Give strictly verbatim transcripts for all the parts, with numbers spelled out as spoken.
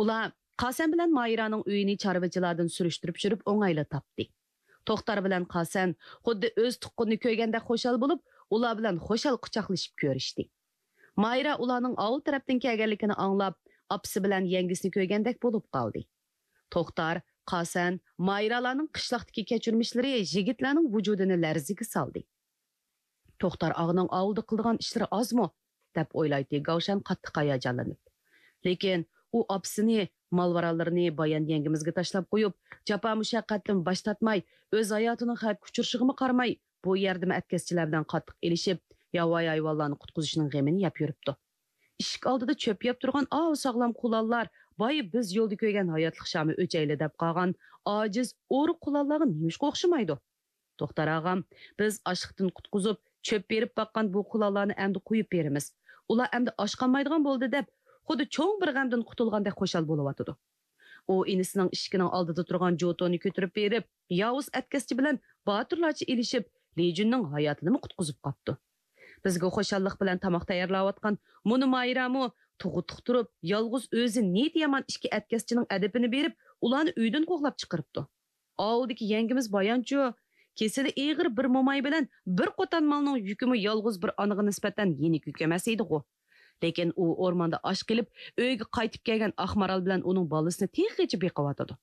ئۇلار قاسەن بىلەن مايرانىڭ ئۆيىنى چارۋىچىلاردىن سۈرۈشتۈرۈپ يۈرۈپ ئوڭايلا تاپتى. توختار بىلەن قاسەن خۇددى ئۆز تۇغقىنىنى كۆرگەندەك خۇشال بولۇپ، ئۇلار بىلەن خۇشال قۇچاقلىشىپ كۆرۈشتى. مايرا ئۇلارنىڭ ئاۋۇ تەرەپتىن كەلگەنلىكىنى ئاڭلاپ، ئاپىسى بىلەن يەڭگىسىنى كۆرگەندەك بولۇپ قالدى. توختار، قاسەن، مايرالارنىڭ قىشلاقتىكى كەچۈرمىشلىرى يىگىتلەرنىڭ ۋۇجۇدىنى لەرزىگە سالدى. توختار ئاغىنىڭ ئاۋۇلدا قىلىدىغان ئىشلىرى ئازمۇ؟ دەپ ئويلايتتى گاۋشەن قاتتىق ھاياجانلىنىپ. لېكىن ئۇ ئاپىسىنى، مال-ماراللىرىنى بايان يەڭگىمىزگە تاشلاپ قويۇپ، جاپا-مۇشەققەتتىن باش تارتماي، ئۆز ھاياتىنىڭ خەۋپكە ئۇچرىشىغىمۇ قارىماي، بۇ يەردىمۇ ئەتكەسچىلەر بىلەن قاتتىق ئېلىشىپ، ياۋايى ھايۋانلارنى قۇتقۇزۇشنىڭ غېمىنى يەپ يۈرۈپتۇ. ئىشىك ئالدىدا چۆپ يەپ تۇرغان ئاۋۇ ساغلام قۇلانلار، باي بىز يولدا كۆرگەن ھاياتلىق شامى ئۆچەيلى دەپ قالغان ئاجىز ئورۇق قۇلانلارغا نېمىشقا ئوخشىمايدۇ؟ توختار ئاغام، بىز ئاچلىقتىن قۇتقۇزۇپ، چۆپ بېرىپ باققان بۇ قۇلانلارنى ئەمدى قويۇپ بېرىمىز. ئۇلار ئەمدى ئاچقانمايدىغان بولدى دەپ، خۇددى چوڭ بىر غەمدىن قۇتۇلغاندەك خۇشال بولۇۋاتىدۇ. ئۇ ئىنىسىنىڭ ئىشىكىنىڭ ئالدىدا تۇرغان جوتونى كۆتۈرۈپ بېرىپ، ياۋۇز ئەتكەسچى بىلەن باتۇرلارچە ئېلىشىپ، لىجۈننىڭ ھاياتىنىمۇ قۇتقۇزۇپ قاپتۇ. بىزگە خۇشاللىق بىلەن تاماق تەييارلاۋاتقان مۇنۇ مايرامۇ تۇغۇتلۇق تۇرۇپ، يالغۇز ئۆزى نىيىتى يامان ئىككى ئەتكەسچىنىڭ ئەدىپىنى بېرىپ، ئۇلارنى ئۆيدىن قوغلاپ چىقىرىپتۇ. ئاۋۇلدىكى يەڭگىمىز بايانچۇ، كېسىلى ئېغىر بىر موماي بىلەن بىر قوتان مالنىڭ يۈكىمۇ يالغۇز بىر ئانىغا نىسبەتەن يېنىك يۈك ئەمەس ئىدىغۇ. لېكىن ئۇ ئورماندا ئاچ قېلىپ، ئۆيگە قايتىپ كەلگەن ئاق مارال بىلەن ئۇنىڭ بالىسىنى تېخىچە بېقىۋاتىدۇ.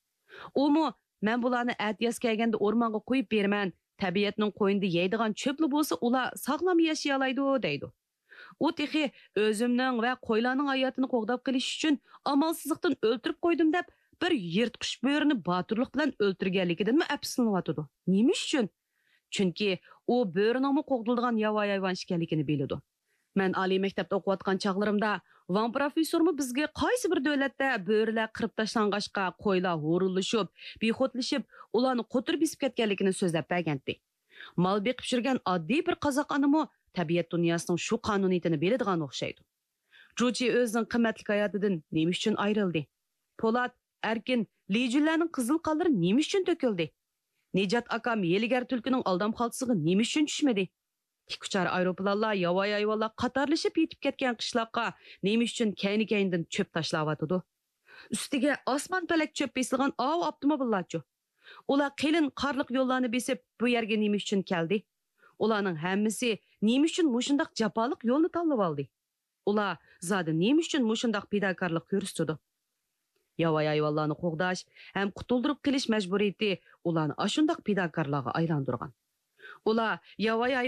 ئۇمۇ، مەن بۇلارنى ئەتىياز كەلگەندە ئورمانغا قويۇپ بېرىمەن، تەبىئەتنىڭ قوينىدا يەيدىغان چۆپلا بولسا، ئۇلار ساغلام ياشىيالايدۇ، دەيدۇ. ئۇ تېخى ئۆزۈمنىڭ ۋە قويلارنىڭ ھاياتىنى قوغداپ قېلىش ئۈچۈن ئامالسىزلىقتىن ئۆلتۈرۈپ قويدۇم دەپ، بىر يىرتقۇچ بۆرىنى باتۇرلۇق بىلەن ئۆلتۈرگەنلىكىدىنمۇ ئەپسۇسلىنىۋاتىدۇ. نېمە ئۈچۈن؟ چۈنكى ئۇ بۆرىنىڭمۇ قوغدىلىدىغان ياۋايى ھايۋان ئىكەنلىكىنى بىلىدۇ. مەن ئالىي مەكتەپتە ئوقۇۋاتقان چاغلىرىمدا ۋاڭ پروفېسسورمۇ بىزگە قايسى بىر دۆلەتتە بۆرىلەر قىرىپ تاشلانغاچقا، قويلار ھۇرۇنلىشىپ، بىخۇدلىشىپ، ئۇلارنى قوتۇر بېسىپ كەتكەنلىكىنى سۆزلەپ بەرگەنتى. مال بېقىپ يۈرگەن ئاددىي بىر قازاق ئانىمۇ تەبىئەت دۇنياسىنىڭ شۇ قانۇنىيىتىنى بىلىدىغان ئوخشايدۇ. جۇچى ئۆزىنىڭ قىممەتلىك ھاياتىدىن نېمە ئۈچۈن ئايرىلدى؟ پولات، ئەركىن، لىجۈنلەرنىڭ قىزىل قانلىرى نېمە ئۈچۈن تۆكۈلدى؟ نىجات ئاكام ھىيلىگەر تۈلكىنىڭ ئالدام خالتىسىغا نېمە ئۈچۈن چۈشمىدى؟ تىك ئۇچار ئايروپىلانلار ياۋايى ھايۋانلار قاتارلىشىپ يېتىپ كەتكەن قىشلاققا نېمە ئۈچۈن كەينى-كەينىدىن چۆپ تاشلاۋاتىدۇ؟ ئۈستىگە ئاسمان پەلەك چۆپ بېسىلغان ئاۋۇ ئاپتوموبىللارچۇ؟ ئۇلار قېلىن قارلىق يوللارنى بېسىپ، بۇ يەرگە نېمە ئۈچۈن كەلدى؟ ئۇلارنىڭ ھەممىسى نېمە ئۈچۈن مۇشۇنداق جاپالىق يولنى تاللىۋالدى؟ ئۇلار زادى نېمە ئۈچۈن مۇشۇنداق پىداكارلىق كۆرسىتىدۇ؟ ياۋايى ھايۋانلارنى قوغداش ھەم قۇتۇلدۇرۇپ قېلىش مەجبۇرىيىتى ئۇلارنى ئاشۇنداق پىداكارلارغا ئايلاندۇرغان. ئۇلار ياۋايى ھايۋان